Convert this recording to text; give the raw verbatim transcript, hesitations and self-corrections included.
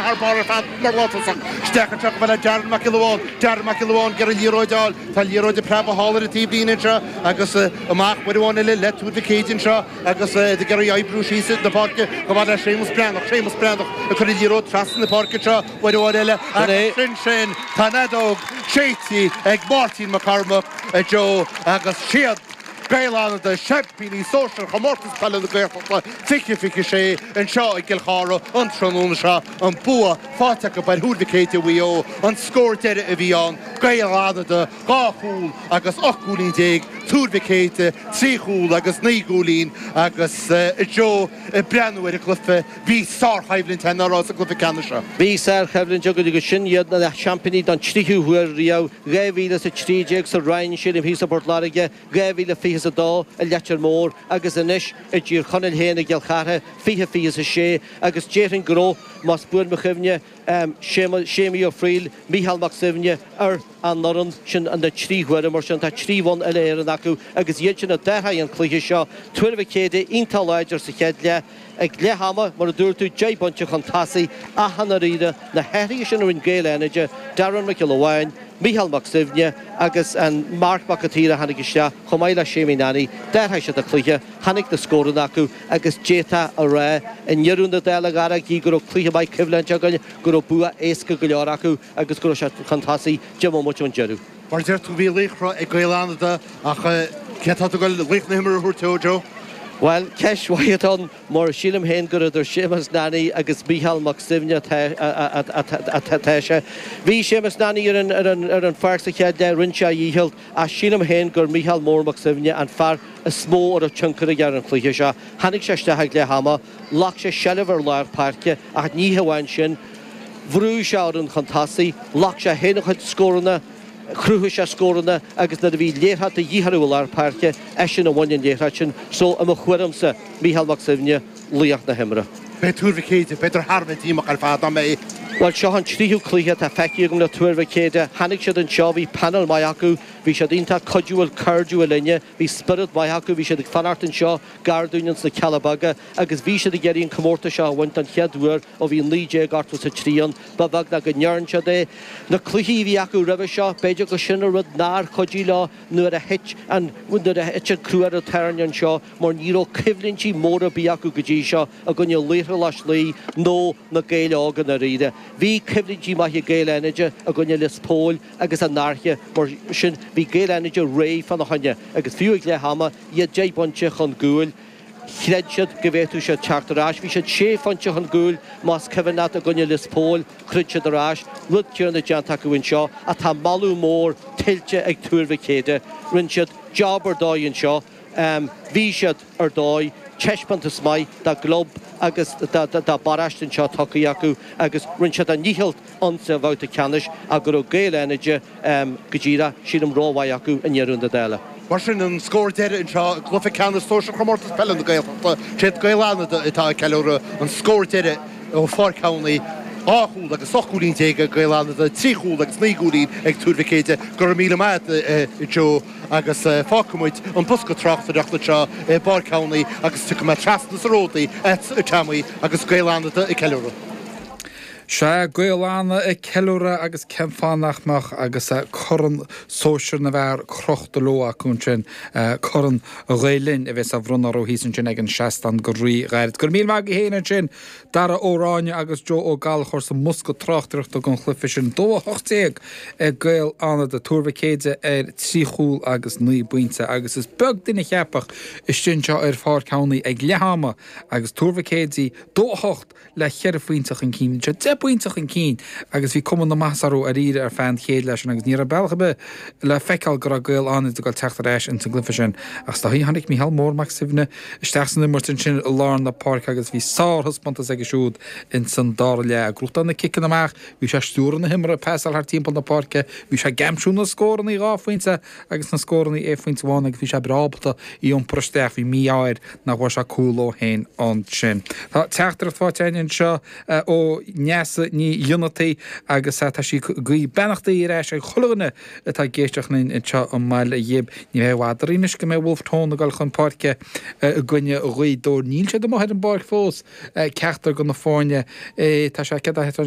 thar barr ar fad mar látosach. Isteach anseo go bhfuil Darren Mac Giolla Bháin, Darren Mac Giolla Bháin ag iarraidh an liathróid a fháil, tá an liathróid ag preabadh thall ar an taobhlíne anseo agus amach uair amháin eile le Tuar Mhic Éadaigh anseo agus iad ag iarraidh oibriú síos na páirce chomh fada le Séamus Breathnach, Séamus Breathnach ag cur an liathróid trasna na páirce anseo uair amháin eile agus sin sin tá an fheadóg séidte ag Máirtín Mac Cormaic, a Joe, agus siad Gaeil Fhánada, seaimpíní sóisir Chomórtas Peile na Gaeltachta fiche fiche sé anseo i gCill Chartha an tráthnóna seo, an bua faighte acu ar Thuar Mhic Éadaigh Mhaigh Eo, an scór deiridh a bhí ann, Gaeil Fhánada dhá chúl agus ocht gcúilín déag, Tuar Mhic Éadaigh trí chúl agus naoi gcúilín agus a Joe ag breathnú ar an gcluiche, bhí sárchoimhlint ann ná raibh sa gcluiche ceannais seo. Bhí sárchoimhlint againn agus sin iad na seaimpíní don tríú huair riamh, dhá mhíle is a trí déag sa Rinn, sílim, thíos i bPort Láirge, dhá mhíle fiche is a dó i Leitir Móir agus anois i dTír Chonaill féin i gCill Chartha, fiche fiche is a sé, agus déarfainn go raibh, más buan mo chuimhne, Séamaí Ó Frighil, Mícheál Mac Suibhne ar an bhfoireann sin na trí huaire, mar sin tá trí bhonn uile-Éireann acu agus iad sin a d'athraigh an cluiche seo. Tuar Mhic Éadaigh iontach láidir sa chéad leath. Ag leath ama, mar a dúirt tú, deich bpointe chun tosaigh ach i ndáiríre, na hathruithe sin a rinne Gaeil Fhánada, Darren Mac Giolla Bháin, Mícheál Mac Suibhne agus an Marc Mac an tSaoir a tháinig isteach, chomh maith le Séimí Nanny, d'athraigh siad an cluiche, tháinig na scóranna acu agus d'fhéadfá a rá i ndeireadh na dála, a Dhara, gí go raibh cluiche maith coimhlinte againn, go raibh bua éasca go leor acu agus go raibh siad chun tosaigh deich mbomaite ón deireadh. Mar a deir tú, bhí laochra ag Gaeil Fhánada ach cé atá tú ag dul laoch na himeartha a thabhairt dó, Joe? Bhuel, ceist mhaith atá ann mar sílim féin gur idir Séamus Nanny agus Mícheál Mac Suibhne atá sé. Bhí Séamus Nanny ar an pháirc sa chéad leath, rinne sé a dhícheall, ach sílim féin gur Mícheál Mór Mac Suibhne an fear is mó a raibh tionchar aige ar an chluiche seo. Tháinig sé isteach ag leath ama, ghlac sé seilbh ar lár páirce ach ní hamháin sin, bhrúigh sé orainn chun tosaigh, ghlac sé féin a chuid scóranna, Chruthaigh sé scóranna agus nuair a bhí liathróid de dhíth orthu i lár páirce, eisean a bhain an liathróid sin. So, i mo thuairimse, Mícheál Mac Suibhne, laoch na himeartha. Beidh Tuar Mhic Éadaigh, b'fhéidir, thar a bheith díomách ar fad, nach mbeidh? Bhuel, seo an tríú cluiche atá feicthe agam le Tuar Mhic Éadaigh. Tháinig siad anseo, bhí panel maith acu, bhí siad iontach cuidiúil, cairdiúil linne, bhí spiorad maith acu, bhí siad ag fanacht anseo gar dúinn ins na Cealla Beaga agus bhí siad ag iarraidh an comórtas seo a bhaint don chéad uair ó bhí naoi déag ochtó is a trí ann. Ba bheag ná go ndearn siad é. Na cluichí a bhí acu roimhe seo, b'fhéidir gur sin an rud nár chuidigh leo nuair a thit an nuair a thit an crú ar an tairne anseo mar ní raibh coimhlintí móra ar bith acu go dtí seo i gcoinne Laochra Loch Lao nó na Gaeil Óga i ndáiríre. Bhí coimhlintí maithe ag Gaeil Fhánada i gcoinne Lios Póil agus an Fhairche, mar sin bhí Gaeil Fhánada réidh fána choinne agus fiú ag leath ama, iad deich bpointe chun cúil, Chreid siad go bhféadfadh siad teacht ar ais. Bhí siad sé phointe chun cúil, más cuimhin leat, i gcoinne Lios Póil. Throid siad ar ais. Rud céanna déanta acu anseo ach tá moladh mór tuillte ag Tuar Mhic Éadaigh. Rinne siad job ar dóigh anseo. Bhí siad ar dóigh. Taispeántas maith dá gclub agus dá bparóiste anseo tugtha acu agus rinne siad a ndícheall insa bhabhta ceannais ach go raibh Gaeil Fhánada go díreach, sílim, rómhaith acu i ndeireadh na dála. Mar sin, an scór deiridh anseo i gcluiche ceannais sóisir Chomórtas Peile na Gaeltachta, siad Gaeil Fhánada atá ag ceiliúradh an scór deiridh ó Pháirc Shamhnaí, dhá chúl agus ocht gcúilín déag ag Gaeil Fhánada, trí chúl agus naoi gcúilín ag Tuar Mhic Éadaigh. Go raibh míle maith agat, a Joe, agus fágfaidh muid an bosca tráchtaireachta anseo i bPáirc Shamhnaí agus tiocfaidh mé trasna sa Ródaí agatsa, a Tommy, agus Gaeil Fhánada ag ceiliúradh. Sea, Gaeil Fhánada ag ceiliúradh agus cén fáth nach mbeadh agus Corn Sóisir na bhFear crochta leo acu ansin, Corn Ghael Linn a bheas á bhronnadh orthu thíos ansin ag an seastán go rí-ghairid. Go raibh míle maith agaibh féin ansin, Dara Ó Ráinne agus Joe Ó Gallchóir sa mbosca tráchtaireachta don chluiche sin. Dó a hocht déag ag Gaeil Fhánada, Tuar Mhic Éadaigh ar trí chúl agus naoi bpointe agus is beag duine a cheapfadh istigh anseo ar Pháirc Shamhnaí ag leath ama agus Tuar Mhic Éadaigh dó a hocht le ceithre phointe chun cinn. Bhí siad deich bpointe chun cinn agus bhí cuma na maitheasa orthu dáiríre ar feadh an chéad leath sin agus ní raibh bealach ar bith le feiceáil go raibh Gaeil Fhánada ag dul teacht ar ais ins an gcluiche sin. Ach is dóigh tháinig Mícheál Mór Mac Suibhne isteach san imirt ansin i lár na páirce agus bhí sárthaispeántas aige siúd ins an dara leath. Ag gnóthachtáil na ciceanna amach, bhí sé ag stiúradh na himeartha, ag pasáil thart timpeall na páirce, bhí sé ag aimsiú na scóranna dhá phointe agus na scóranna aon phointe amháin agus bhí sé breá ábalta í iompar isteach. Bhí mí-ádh air nach bhfuair sé cúl dó féin ansin. Tá teachtaireacht faighte againn anseo ó Neasa Ní Fhionnachtaigh agus tá sí ag guí beannachtaí ar ais ag chuile dhuine atá ag éisteacht linn anseo i mBaile Ghib. Ní bheidh i bhfad orainn anois go mbeidh Wolfe Tone ag dul chun páirce i gcoinne Ghaoth Dobhair. Níl siad amuigh ar an bpáirc fós, ceachtar de na foirne. Tá sé céard é atá anois?